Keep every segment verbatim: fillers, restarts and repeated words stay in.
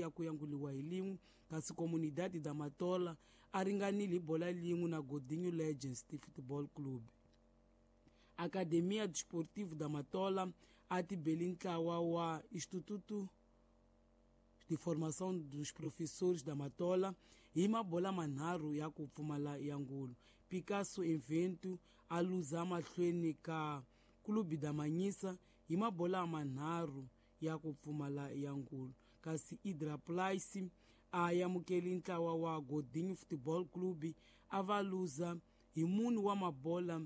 ya ku yanguliwa hi lin'we kasi Comunidade da Matola a ringanile hi bola lin'we na Godinho Legends Football Club. Academia Desportivo da Matola a tibeli ntlawa wa Instituto de Formação dos Professores da Matola hi mabola manharhu ya ku pfumala ya ngulu. Picasso Evento a luza mahlweni ka Clube da Manhisa hi mabola manharhu ya ku pfumala ya ngulu, kasi Idra Place a amukeli ntlawa wa Godinho Football Club a va luza hi mune wa mabola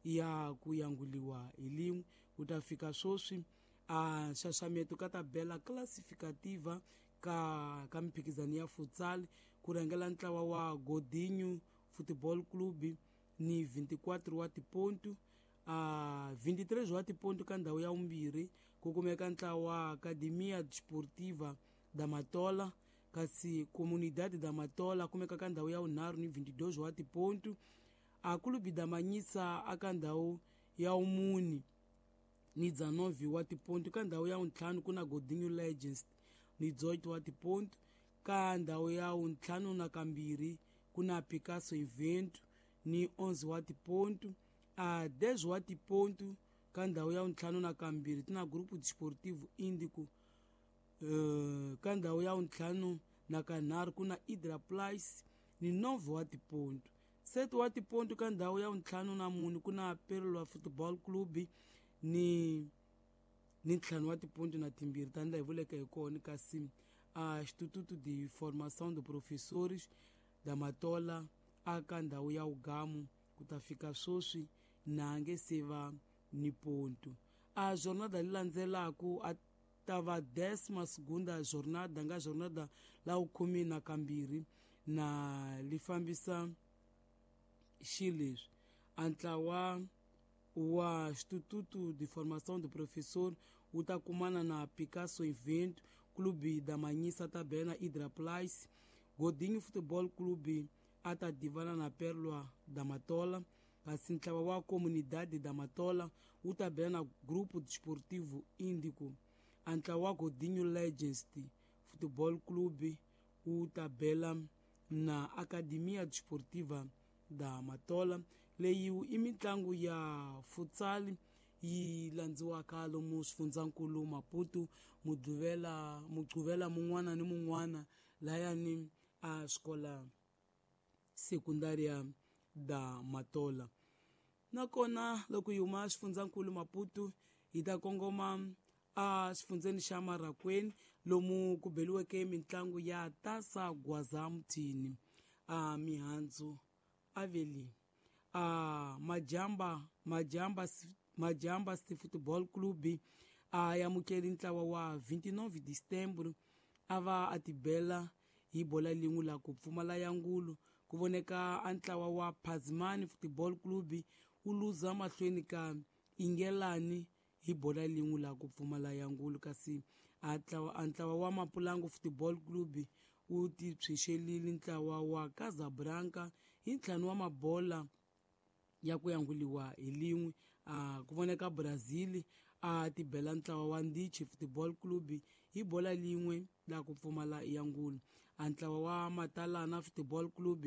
ya ku yanguliwa hi lin'we. Ku ta fika sweswi a nxaxameto ka tabela classificativa ka ka mimphikizano ya futsal ku rhangela ntlawa wa Godinho Football Club ni vinte e quatro wa tipontu, a vinte e três wa tipontu. Ka ndhawu ya vumbirhi ku kumeka ntlawa wa Academia Desportiva da Matola, kasi Comunidade da Matola kumeka ka ndhawu ya vunharhu ni vinte e dois wa tipontu. A Clube da Manhisa aka ndhawu ya vumune ni dezenove wa tipontu. Ka ndhawu ya vuntlhanu ku na Godinho Legends ni dezoito wa tipontu. Ka ndhawu ya vuntlhanu na kambirhi ku na Picasso Evento ni onze wa tipontu. A dez wa tipontu ka ndhawu ya vuntlhanu na kambirhi ti na Grupo Desportivo Índico. uh, ka ndhawu ya vuntlhanu na kanharhu ku na Idra Place ni nove wa tipontu. Sete wa tipontu ka ndhawu ya vuntlhanu na mune ku na Perla Football Club ni ni ntlhanu wa tipontu na timbirhi, tanihi laha hi vuleke hi kona, kasi a Instituto de Formação de Professores da Matola aka ndhawu ya ugamu ku ta fika sweswi na nge se va ni pontu. A jornada leyi landzelaku a ta va décima segunda jornada, nga jornada la vukhume na kambirhi, na li fambisa xileswi: a ntlawa wa Instituto de Formação de Professor wu ta kumana na Picasso Evento, Clube da Manhisa ta bela na Idra Place, Godinho Football Club a ta divana na Perla da Matola, kasi ntlawa wa Comunidade da Matola wu ta bela na Grupo Desportivo Índico. A ntlawa wa Godinho Legends Football Club wu ta bela na Academia Desportiva da Matola. Leyi i mitlangu ya futsal yi landziwaka lomu swifundzankulu Maputo muduvela muquvela mun'wana ni mun'wana layani a xikola sekundaria da Matola. Nakona loko hi huma xifundzankulu Maputo hi ta kongoma a xifundzeni xa Marracuene lomu ku beliweke mitlangu ya Taça Gwaza Muthini. A mihandzu aveli a Majamba Majamba Majamba City Football Club a amukeli ntlawa wa vinte e nove de Setembro a va a tibela hi bola lin'we la ku pfumala ya ngulu. Ku voneka a ntlawa wa Pazimani Football Club wu luza mahlweni ka Ingelani hi bola lin'we la ku pfumala ya ngulu, kasi a ntlawa wa Mapulangu Football Club wu ti tshwixelile ntlawa wa Casablanca hi ntlhanu wa mabola ya ku yanguliwa hi lin'we. A ku voneka Brazil a tibela ntlawa wa Ndichi Football Club hi bola lin'we la ku pfumala ya ngulu. A ntlawa wa Matalana Football Club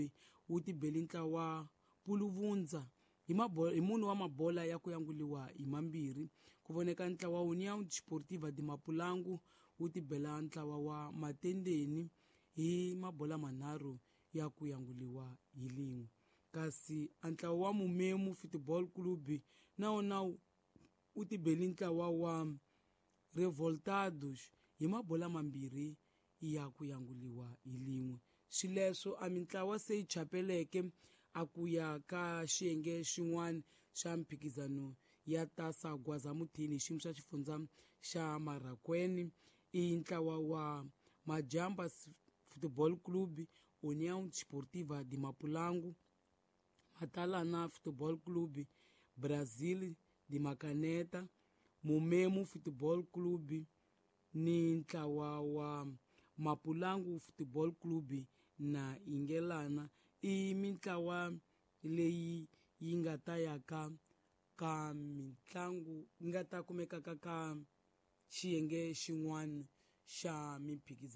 wu tibeli ntlawa wa Puluvundza hi hi mune wa mabola ya ku yanguliwa hi mambirhi. Ku voneka ntlawa wa União Desportiva de Mapulangu wu tibela ntlawa wa Matendeni hi mabola manharhu ya ku yanguliwa hi lin'we, kasi a ntlawa wa Mumemu Football Club na wona wu tibeli ntlawa wa Revoltados hi mabola mambirhi ya ku yanguliwa hi lin'we. Swileswo a mintlawa se yi chapeleke a ku ya ka xiyenge xin'wana xa mphikizano ya Taça Gwaza Muthini hi xiyimo xa xifundza xa Marracuene i ntlawa wa Majamba Football Club, União Desportiva de Mapulangu, Matalana Football Club, Brazil de Macaneta, Mumemu Football Club ni ntlawa wa Mapulangu Football Club na Ingelana. I mintlawa leyi yi nga ta ya ka ka mitlangu yi nga ta kumekaka ka xiyenge xin'wana xa mimphikizano.